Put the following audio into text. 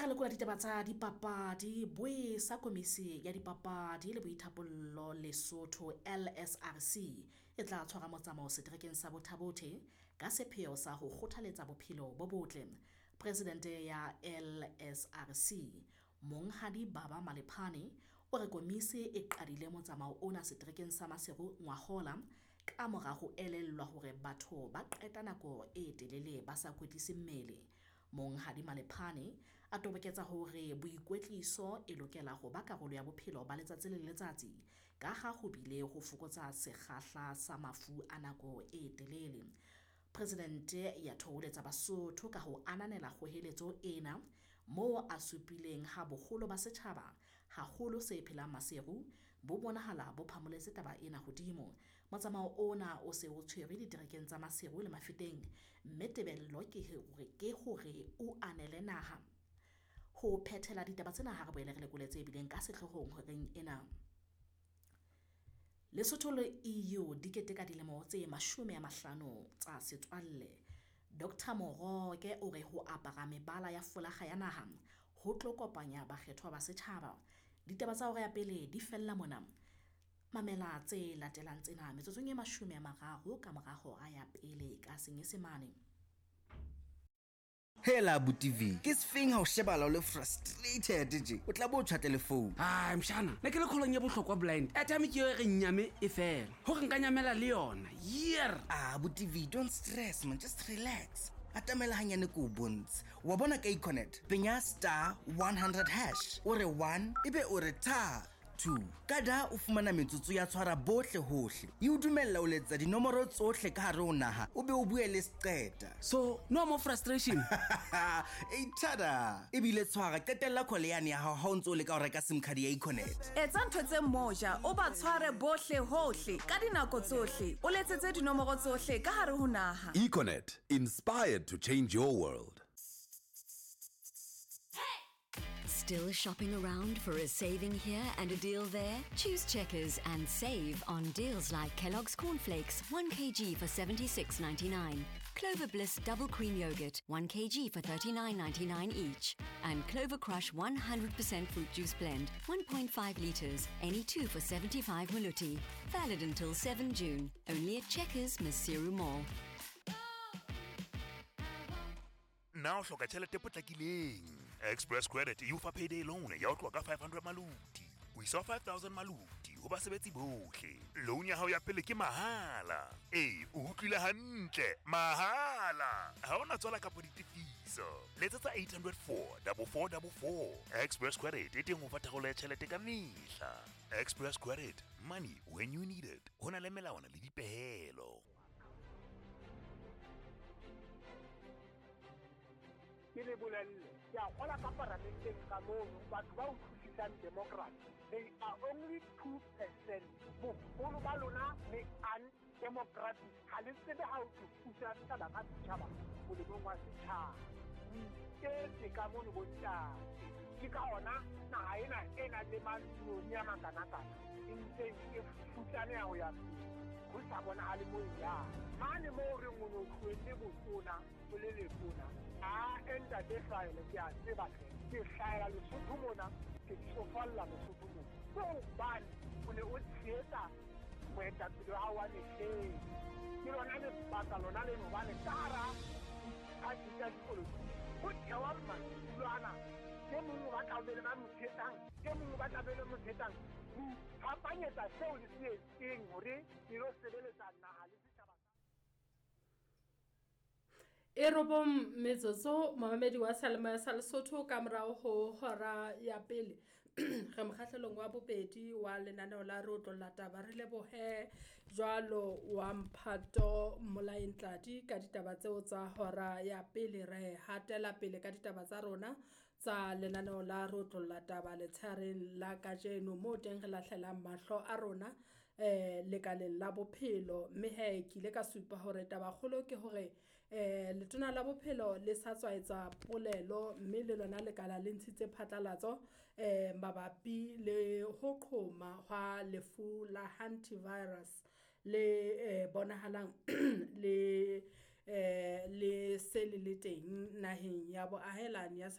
Ha re lekola ditaba tsa dipapadi, boi sa komisi ya dipapadi le boithapollo Lesotho LSRC e tla tshwara motsamao seterekeng sa Botha-Bothe ka sepheo sa ho kgothaletsa bophelo bo botle. Presidente ya LSRC Monghadi Baba Malephane o re komisi e qadile motsamao ona seterekeng sa Maseru ngwahola ka mora ho elellwa hore batho ba qeta nako e telele ba sa kwetlise mmele. Monghadi Malephane a toboketsa hore boikwetliso e lokela ho ba karolo ya bophelo ba letsatsi le letsatsi ka ha ho bile ho fokotsa sekgahla sa mafu a nako e telele. Presidente ya thoholetsa Basotho ka ho ananela kgoheletso ena moo a supileng ha boholo ba setjhaba haholo se phelang Maseru bo bonahala bo phamoletse taba ena hodimo. Motsamao ona o se o tshwerwe diterekeng tsa Maseru le Mafeteng mme tebello ke hore o anele naha. Ho phethela ditaba tsena ha re boele re lekole tse bileng ka sehloohong horeng ena. Lesotho le EU di keteka dilemo tse 50 tsa setswalle. Dr Moroke o re ho apara mebala ya folakga ya naha ho tlo kopanya bakgethwa ba setjhaba. Ditaba tsa hora ya pele di fella mona. Mamela tse latelang tsena metsotsong e 30 ka mora hora ya pele ka Senyesemane. Hela abuti V, ke sefeng ha o shebala o le frustrated je? O tla bo o tjhwatle le phone. Ai mshana, ne ke le kgolong ya bohlokwa blind. Airtime ke eo e re nyame e fela. Hore nka nyamela le yona. Year. Ah, abuti V, don't stress man, just relax. Atamela hanyane ko o bontshe. Wa bona ka Econet, penya *100#, o re 1, ebe o re tha 2. Ka da o fumana metsotso ya tshwara bohle hohle. E o dumella o letsa dinomoro tsohle ka hare ho naha, o be o bue le seqeta. So, no more frustration. E tada. Ebile tshwara qetella call yane ya hao ha o ntso o leka ho reka SIM card ya Econet. Etsa ntho tse moja, o ba tshware bohle hohle ka dinako tsohle, o letsetse dinomoro tsohle ka hare ho naha. Econet, inspired to change your world. Still shopping around for a saving here and a deal there? Choose Checkers and save on deals like Kellogg's Cornflakes, 1 kg for 76.99, Clover Bliss Double Cream Yogurt, 1 kg for 39.99 each, and Clover Crush 100% Fruit Juice Blend, 1.5 litres, any two for 75 maluti. Valid until 7 June. Only at Checkers, Maseru Mall. Na o hloka tjhelete e potlakileng? Express Credit e o fa payday loan ya ho tloha ka 500 maluti ho isa ho 5000 maluti ho basebetsi bohle. Loan ya hao ya pele ke mahala. Ee, o utlwile hantle, mahala. Ha hona tswala kapa ditefiso. Letsetsa 804 4444. Express Credit e teng ho fa tharollo ya tjhelete ka mehla. Express Credit, money when you need it. Ho na le melawana le dipehelo. Ke le bolelle, ke a kgola ka paramenteng ka mono batho ba utlwisisang democracy, they are only 2%. Boholo ba lona le undemocratic, ha le tsebe ha o thusa setjhaba ka setjhaba molemong wa setjhaba. O iketse ka mono bontate, ke ka ona naha ena e nang le matloni a makanakana e ntseng e futsaneha ho ya pele, ho sa bonahale mo e yang mane moo re o ne o tlohelle botona o le letona. A ntate hlahele, ke a tseba hle, ke hlahela Lesotho mona, ke tsofalla Lesotho mona, ke hobane o ne o tshehetsa moetapele wa hao wa mehleng. Ke lona lebaka lona leno, hobane ka hara diphathi tsa dipolotiki ho thewa madulo ana, ke mong o batla o be le ba mo tshehetsang, ke mong o batla be le mo tshehetsang, ho iphapanyetsa seo le se etseng hore le lo sebeletsa naha le setjhaba. E 9 metsotso momamedi wa Seyalemoya sa Lesotho ka morao ho hora ya pele. Re mokgahlelong wa bobedi wa lenaneo la re otlolla taba. Re lebohe jwalo wa Mphato Molaentladi ka ditaba tseo tsa hora ya pele. Re hatela pele ka ditaba tsa rona tsa lenaneo la re otlolla taba letshareng la kajeno, moo teng re lahlelang mahlo a rona lekaleng la bophelo. Mme he ke ile ka supa hore taba kgolo ke hore letona la bophelo le sa tswa etsa polelo, mme le lona lekala le ntshitse phatlalatso mabapi le ho qhoma hwa lefu la hantavirus le bonahalang le se le le teng naheng ya boahelani ya South